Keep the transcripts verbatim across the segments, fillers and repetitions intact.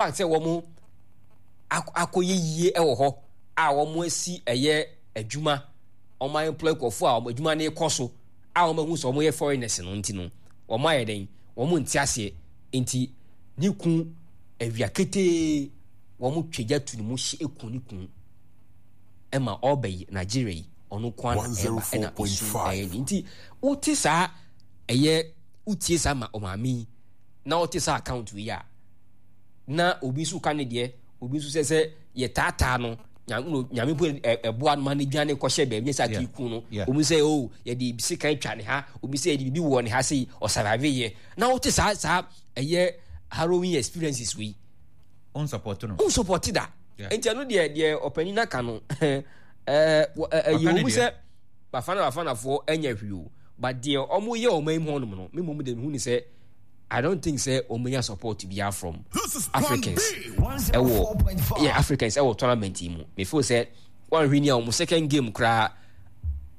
Fact sɛ wɔn akɔyɛ yie wɔ hɔ a wɔn asi ɛyɛ adwuma, wɔn employ nkurɔfoɔ a wɔn adwuma no rekɔ so a wɔn ahu sɛ wɔn yɛ foreigners no nti no, wɔn ayɛ dɛn? Wɔn nte aseɛ nti ne kun awia ketee wɔn twa gya tu ne mu hye eku ne kun ɛma ɔba yi Nigeria yi ɔno nko ara na ɛba ɛna esu ɛyɛ ne nti wote saa ɛyɛ wotie saa ma ɔmaame yi na wote saa account yi a, na obi nso ka ne deɛ, obi nso sɛ sɛ yɛtaataa no, nyame mpo ɛboa no ma no dwane kɔhyɛ baabi nyɛ sɛ ake ku no, obi sɛ o oh, yɛde sekan twa ne ha, obi sɛ yɛde biribi wɔ ne ha sei, ɔsurvive yɛ. Na wote saa saa ɛyɛ harrowing experiences wei. Onsupɔte no. Onsupɔte da. Nti ɛno deɛ deɛ ɔpanin aka no, ɛyɛ wɔ mu sɛ Bafana Bafanafoɔ anya hwee o, but deɛ wɔn yɛ wɔn anim hɔnom no, me mmom deɛ mehu ne sɛ I don't think sɛ wɔn bɛnya support biara from Africans ɛwɔ yeah Africans ɛwɔ tournament yi mu. Me feel sɛ wɔn ahwɛ ni a wɔn second game koraa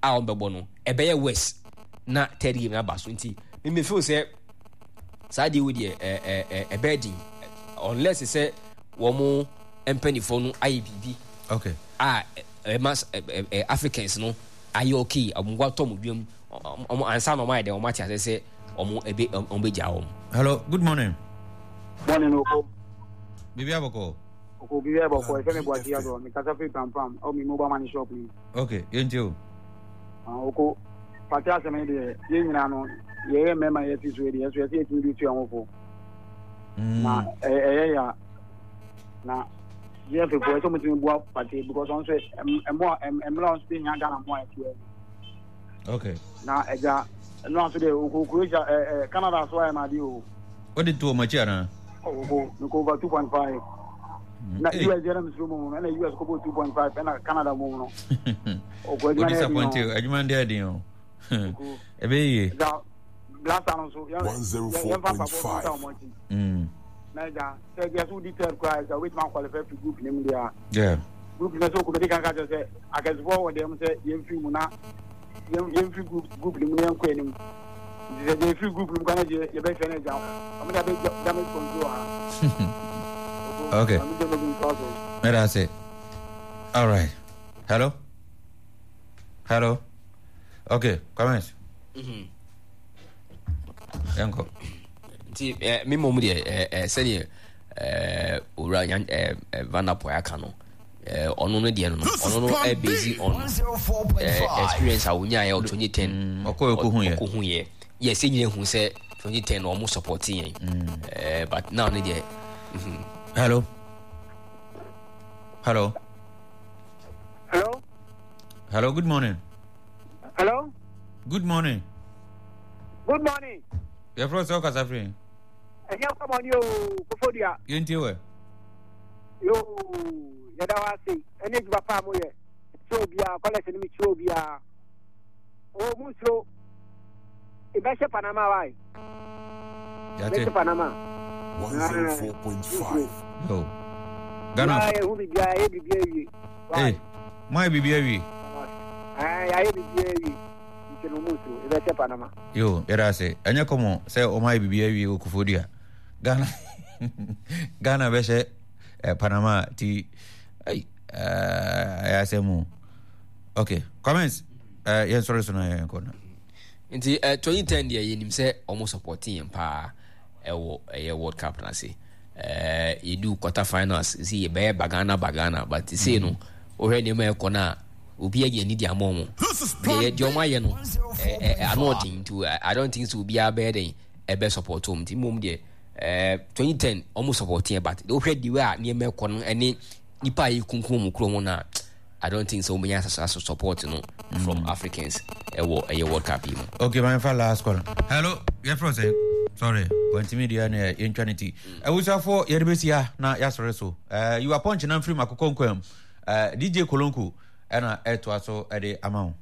a wɔn bɛbɔ no ɛbɛyɛ worse na third game na aba so nti me me feel sɛ saa deɛ wo deɛ ɛɛ ɛɛ ɛbɛyɛ den unless sɛ wɔn mpanimfoɔ no ayɛ biribi okay a ɛma ɛ Africans no ayɛ okay wɔn atɔ wɔn dwam wɔn ansa na wɔn ayɛ dɛ wɔn ate ase sɛ wɔn ebe wɔn bɛ gya wɔn. Hello, good morning. Morning, Oko. Bibi abɔkɔ. Oko bibi abɔkɔ. Efe mi buakye yadɔ. Mi kasa firi Prampram. Ɛwɔ mi mobile money shop ni. Okay, yɛn ti o. Ah, Oko. Pati asɛm yi deɛ, yɛn nyinaa no, yɛyɛ mmarima yɛ ti so yɛ deɛ, yɛso yɛsɛ yɛtumi de tu yɛn ho fo. Na ɛyɛ ya na yɛ fefo ɛsɛ ɔmo tumi boa pati because ɔno nso ɛmoa ɛmmerɛ ɔno nso bi nya Ghana mmoa ɛteɛ. Okay. Na ɛgya ɛno aso deɛ oko Croatia ɛ ɛ Canada so ayɛ n'ade o. O de to ɔmo akyi anaa? Oko meko over two point five. Na U S deɛ na mesuro mu no ɛna U S kɔ bɔ two point five ɛna Canada mu no. Oko adwuma no yɛ den o. Adwuma no yɛ den o. Ebe yie. Blaster no nso yɛn yɛn fa mpaboa bi nsa wɔn akyi. Na ɛgya sɛ ɛgya so wodi third koraa ɛgya wobɛtumi akɔlifɛ fi group ne mu deɛ a. Group no sɛ okobɛdi kan ka kyerɛ sɛ akɛsefoɔ wɔ dɛm sɛ yɛmfiri mu na yɛmfiri group group no mu na yɛnkɔ anim. Nti sɛ deɛ yɛfiri group no mu kora na deɛ yɛbɛhwɛ no agya wɔn de abɛ damage control ha. Okay. Mɛda ase. All right. Hello. Hello. Okay, comments. Mm-hmm. Yɛnkɔ. Nti eh, me mmom deɛ eh, eh, sɛdeɛ eh, owura nyan eh, eh, Vanderpoel aka no, eh, ɔno no deɛ no no ɔno no eh, based on eh, experience a wonyaeɛ wɔ twenty ten. Mm, ɔkɔ ɔkɔhu yɛ ɔkɔhu yɛ yɛ sɛ nyina hu sɛ twenty ten na ɔmo support yɛn mm. eh, but now no deɛ mm-hmm. Hello, hello. Hello. Hello, good morning. Hello. Good morning. Good morning. Yɛfrɛ sɛ wokasa firi? Ɛnyɛ kɔmɔne o, Kofodua. Yɛntie wɛ. Yo, yɛda wo ase ɛne adwuma pa a moyɛ. Kyerɛ obiara, kɔlɛs no mekyerɛ obiara. O, mu nsuro. Ɛbɛhyɛ Panama wae. Ɛbɛhyɛ Panama. one oh four point five. Yo. Ghana. Yɛhu biribiara, yɛ biribiara wie. Hey, mo ayɛ biribi awie? Yɛayɛ biribiara awie nti no mu nsuro, yɛbɛhyɛ Panama. Yo, yɛda ase. Ɛnyɛ kɔmɔ sɛ ɔmo ayɛ biribi awie wɔ Kofodua. Ghana Ghana bɛhyɛ eh, Panama ti ɛy ɛyɛ asɛm o. Okay, comments. Eh, yɛn sɔrɔ so na yɛn kɔ no. Nti eh, twenty ten deɛ yɛnim sɛ ɔmo support yɛn paa ɛwɔ ɛyɛ World Cup no ase. Eh, yɛdu quarter finals si yɛbɛyɛ bagana bagana, but sei no wohwɛ nneɛma ɛkɔ no a, obi anya ani de ama ɔmo deɛ deɛ ɔmo ayɛ no ano ɔden nti I don't think sɛ obiara bɛyɛ den ɛbɛ support ɔmo. Nti mmom deɛ ɛɛ twenty ten ɔmo support yɛn, but wohwɛ deɛ a nneɛma ɛkɔ no ɛne nipa a yɛkunkum ɔmo kuro ho no a, I don't think sɛ wɔn bɛnya asase support no from mm. Africans ɛwɔ ɛyɛ World Cup yi mu. Okay, my fa last call. Hello, yɛfrɛ sɛ? Sorry, wɔntumi deɛ ne yɛntwa ne ti. Awusafoɔ, yɛde bɛsi ha na yɛasɔre so. Uh, you are punch na mfiri mu akokɔ nkwam. Uh, D J Kolonko ɛna ɛtoa so ɛde ama wo.